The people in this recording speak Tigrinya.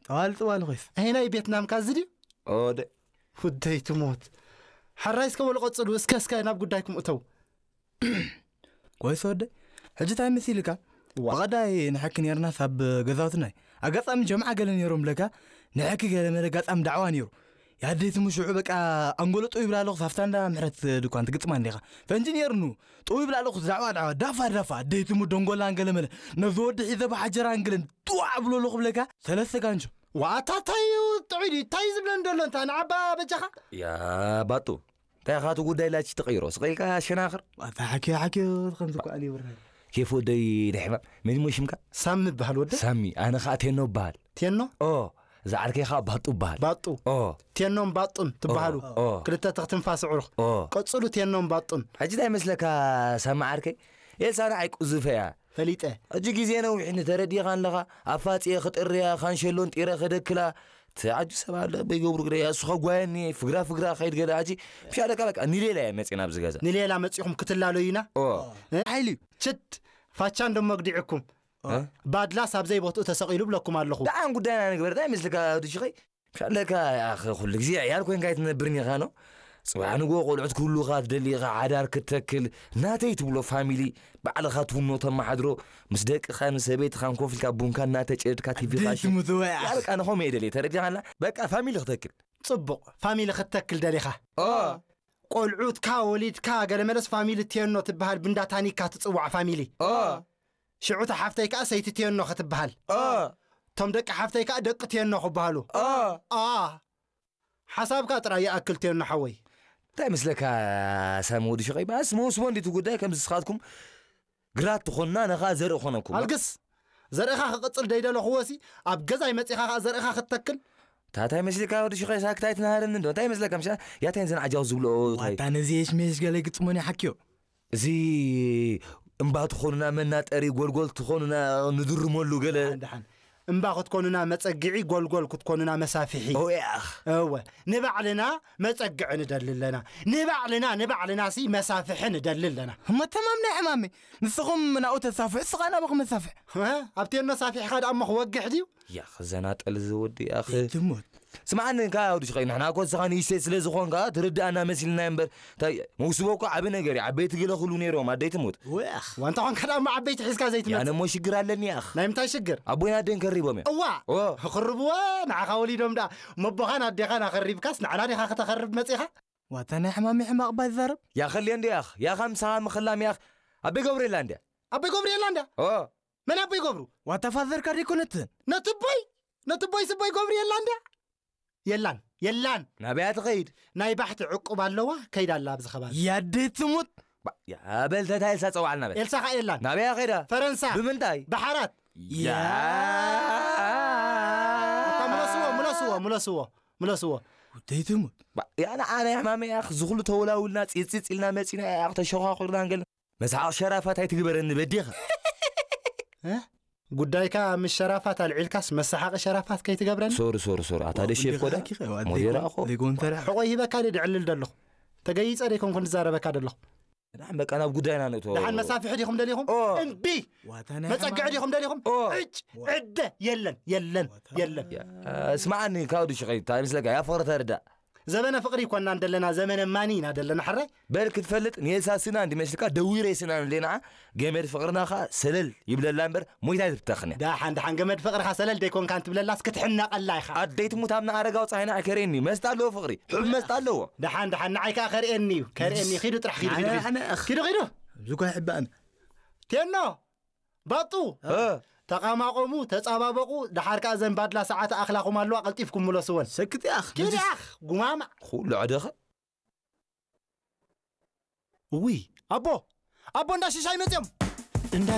ኣዋልጥ ዋል ኮይስ። ኣይ ናይ ቤትናምካ እዚ ድዩ? ኦደ። ውደይ ትሞት። ሓራይ እስከ በሉ ቀጽሉ፣ እስከ እስከ ናብ ጉዳይኩም እተው። ኮይስ ወደይ፣ ሕጂ እንታይ መሲልካ? ዋ። ብቐዳይ ንሕኪ ነርና ሳብ ገዛውትናይ። ኣጋጣሚ ጀምዓ ገለ ነይሮም ብለካ፣ ንሕኪ ገለ መለ ኣጋጣሚ ዳዕዋ ነይሩ። ያደይ ትሙ ሽዑ በቃ ኣንጎሎ ጥው ይብላ ኣለኹ፣ ሳፍታ እንዳ ምሕረት ድኳን ትግጥማ እንዲኻ። ፈንጂ ነይርኑ፣ ጥው ይብላ ኣለኹ፣ ዳዕዋ ዳዕዋ፣ ዳፋ ዳፋ፣ ኣደይ ትሙ ደንጎላ እንገለ መለ። ነዚ ወዲ ሒዘ ብሓጀራ እንግለን፣ ጥዋዕ ብሎ ኣለኹ ብለካ፣ ሰለስተ ጋንጆ። ዋታ እንታይ እዩ ጥዑይ ድዩ? እንታይ እዩ ዝብለን ዘሎ እንታ ንዓባ በጃኻ? ያ ባጡ፣ እንታይ ኢኻ እቲ ጉዳይ ላች ትቕይሮ? ስቕ ኢልካ ሸናኽር። ዋታ ሓኪዮ ሓኪዮ ከምዚ እኮ ኣልዩ ብርሃን። ኬፍ ወደይ ድሕማ፣ መን እሞ ሽምካ? ሳሚ እበሃል ወደ። ሳሚ፣ ኣነ ኸኣ ቴኖ እበሃል። ቴኖ? ኦ፣ እዛ ዓርከይ ኸኣ ባጡ እበሃል። ባጡ። ኦ። ቴኖን ባጡን ትበሃሉ። ኦ፣ ኦ። ክልተ ትኽ ትንፋስ ኣዕሩኽ። ኦ። ቀጽሉ ቴኖን ባጡን። ሕጂ እንታይ መስለካ ሳሚ ዓርከይ? ኤልሳ ንዓይ ቁዙፈ እያ። ፈሊጠ። ሕጂ ግዜ ነዊሕ ንተረዲኻ ኣለኻ። ኣፋጽየ ክጥርያ፣ ካንሸሎን ጢረ ከደክላ። እቲ ዓጁ ሰብ ኣሎ፣ በይገብሩ ግደ እያ። እሱ ኸጓየኒ፣ ፍግራ ፍግራ ኸይድ ገለ። ሕጂ ምሻለካ በቃ ንሌላ እየ መጺና ኣብዚ ገዛ። ንሌላ መጺኹም ክትላለዩና? ኦ። እ? ሓይሊ እዩ። ችድ፣ ፋቻ እንዶ መግዲዕኩም። እ? ባድላስ ኣብ ዘይቦትኡ ተሰቒሉ ብለኩም ኣለኹ። ደሓን ጉዳይና ንግበር። እንታይ መስልካ ወዲ ሽኸይ? ምሻለካ ያኸ ኩሉ ግዜ ዕያል ኮይንካ ኣይትነብርን ኢኻ ኖ? ጽባሕ ንግሆ ቆልዑት ክህሉኻ ትደሊ ኢኻ፣ ሓዳር ክትተክል፣ ናተይ ትብሎ ፋሚሊ ባዕልኻ ትውኖ ተመሓድሮ፣ ምስ ደቅኻን ሰበይትኻን ኮፍ ኢልካ ቡንካ እናተጨድካ ቲቪኻ ኣደይ ትሙት ወይ ኣኽ። ያልቃ ንኸም እየ ደልየ ተረዲኻና? በቃ ፋሚሊ ክተክል። ጽቡቕ፣ ፋሚሊ ክትተክል ደሊኻ? ኦ። ቆልዑትካ ወሊድካ ገለ መለስ ፋሚሊ ቴኖ ትበሃል ብንዳ ታኒካ ትጽዋዕ ፋሚሊ። ኦ። ሽዑ እታ ሓፍተይ ከኣ ሰይቲ ቴኖ ክትበሃል። ኦ። እቶም ደቂ ሓፍተይ ከኣ ደቂ ቴኖ ክበሃሉ። ኦ። ኣ። ሓሳብካ ጥራይ ይኣክል ቴኖ ሓወይ። እንታይ መስለካ ሳሚ ወዲ ሸቐይ? ባስ መውስቦ እንዲቱ ጉዳይ ከም ዝስኻትኩም ግራት ትኾንና ነኻ ዘርኢ ኾነኩም። ኣልግስ! ዘርእኻ ክቕጽል ደይደለኹዎ ሲ ኣብ ገዛይ መጺኻ ከኣ ዘርእኻ ክትተክል? ታታይ መስልካ ወዲ ሽኸይ ሳክት ኣይትናሃረኒ እንዶ? እንታይ መስለካ ምሻ? ያታይን ዘን ዓጃው ዝብልኦ ታይ? ዋታ ነዚ የሽሜሽ ገለ ግጥሞን ይሓክዮ። እዚ እምባ ትኾኑና መናጠሪ፣ ጎልጎል ትኾኑና ንድርመሉ ገለ። ደሓን፣ ደሓን። እምባ ክትኮኑና መጸግዒ፣ ጎልጎል ክትኮኑና መሳፍሒ። ኦ ያኽ። እወ፣ ንባዕልና መጸግዒ ንደሊ ኣለና። ንባዕልና፣ ንባዕልና ሲ መሳፍሒ ንደሊ ኣለና። እሞ ተማም ናይ ዕማመይ። ንስኹም ናብኡ ተሳፍሑ፣ ስኻ ናብኹም መሳፍሕ። እ? ኣብቲ እኖ ሳፊሕኻ ደኣ እሞ ክወግሕ ድዩ? ያኽ፣ ዘናጠል እዚ ወዲ፣ ያኽ። ትሞት። ስምዓኒ፣ እንካ ወዲ ሽኸይ፣ ንሕና እኮ ንስኻ ንእሽተይ ስለ ዝኾንካ ትርድኣና መሲልና እምበር፣ እንታይ፣ መውስቦ እኮ ዓቢ ነገር እዩ። ዓበይቲ ገለ ክብሉ ነይሮም፣ ኣደይ ትሙት። ወያኽ። ዋንታ ኾንካ ደኣ እሞ ዓበይቲ ሒዝካ ዘይትመጽእ። ያነ እሞ ሽግር ኣለኒ፣ ያኽ። ናይ ምንታይ ሽግር? ኣቦይን ኣደይን ከሪቦም እዮም። እዋ! ኦ። ክርብዎ፣ ንዓኻ ወሊዶም ደኣ፣ መቦኻን ኣዴኻን ኣኸሪብካስ፣ ንዓና ዲኻ ከተኸርብ መጺኻ? ዋታ ናይ ሕማም ሕማቕ ባይ ዛረብ። ያኸልየ እንዲ፣ ያኽ። ያኻ ምሳኻ ምኽላም፣ ያኽ። ኣበይ ገብርኤላ እንድያ? ኣቦይ ገብርኤላ እንድያ? ኦ። መን ኣቦይ ገብሩ? ዋታ ፋዘርካ ደይኮነትን? ነቲ ቦይ? ነቲ ቦይ ስቦይ ገብርኤላ እንድያ? የላን፣ የላን። ናበያ ትኸይድ? ናይ ባሕቲ ዕቁብ ኣለዋ፣ ከይዳ ኣላ ኣብዚ ከባቢ። ያደይ ትሙት። ባ-፣ ያ፣ በል ተታ ኤልሳ ጸውዓልና በል። ኤልሳ ኸኣ የላን። ናበያ ኸይዳ? ፈረንሳ። ብምንታይ? ብሓራት። ያ። ኣታ ምለስዎ፣ ምለስዎ፣ ምለስዎ፣ ምለስዎ። ውደይ ትሙት። ባ-፣ ያ፣ ንዓ ናይ ሕማመይ ያኽ፣ ዝኹሉ ተወላውልና፣ ጺጽጽ ኢልና መጺና ያኽ፣ ተሸዃኹርና እንገል። መስሓቕ ሸራፋት ኣይትግበረኒ በዴኻ። እ? ጉዳይካ ምስ ሸራፋት ኣልዒልካስ መሰሓቂ ሸራፋት ከይትገብረኒ? ሶሪ፣ ሶሪ፣ ሶሪ። ኣታ ዋ፣ ደሼፍ ጉዳይ ኮዳ? ሓቂ ኸ፣ ዋ፣ ሞዴራ ደይኮን-፣ እኮ። ደይኮን ተራ። ሕቖይ ሂበካ ድየ ድዕልል ደለኹ? ተገይጸ ደይኮንኩ ንዛረበካ ደለኹ? ደሓን በቃ ናብ ጉዳይና ንእቶ። ደሓን መሳፍሒ ዲኹም ደሊኹም? ኦ። እምቢ! ዋታ ናይ መጸግዒ ሓማም። ዲኹም ደሊኹም? ኦ። ዕጭ! ዋ። ዕደ! የለን፣ የለን፣ ዋታ የለን። ያ፣ ስምዓኒ፣ ካውዲ ሽቐይ፣ እንታይ ምስለካ? ያ ፍቕሪ ተርዳእ። ዘበነ ፍቕሪ ይኮናን ደለና፣ ዘመነ ማኒ ኢና ደለና፣ ሕራይ? በል ክትፈልጥ፣ ንየሳስና እንዲመስልካ፣ ደዊረ የስናን ደለና፣ ገመድ ፍቕርና ኸኣ ሰለል ይብለላ እምበር፣ ሞይታ ኣይትብተኽን እያ። ደሓን፣ ደሓን፣ ገመድ ፍቕርኻ ሰለል ደይኮንካን ትብለላስ ክትሕነቐላ ኢኻ። ኣደይ ትሙት ኣብ ንኣረጋዊ ጸሃይና ኣይከርእየኒ እዩ። መስጣ ኣለዎ ፍቕሪ። ሕብ መስጣ ኣለዎ። ደሓን፣ ደሓን፣ ንዓይ ከኣ ከርእየኒ እዩ። ከርእየኒ እዩ። ኪዱ ጥራሕ፣ ኪዱ፣ ኪዱ፣ ኣነ፣ ኪዱ። ኣነ፣ ኣኽ። ኪዱ፣ ኪዱ። እዚ እኮ ይሕባእን። ቴኖ፣ ባጡ። እ። ተቓማቐሙ፣ ተጻባበቑ። ደሓር ከኣ ዘን ባድላ ሰዓት ኣኽላኹም ኣለዋ፣ ቀልጢፍኩም ምለስወን። ሰክት ያኽ። ኪድ ያኽ፣ ጉማማ። ኩሉ ዕደኸ። እውይ፣ ኣቦ፣ ኣቦ እንዳ ሽሻይ መጽዮም። እንዳ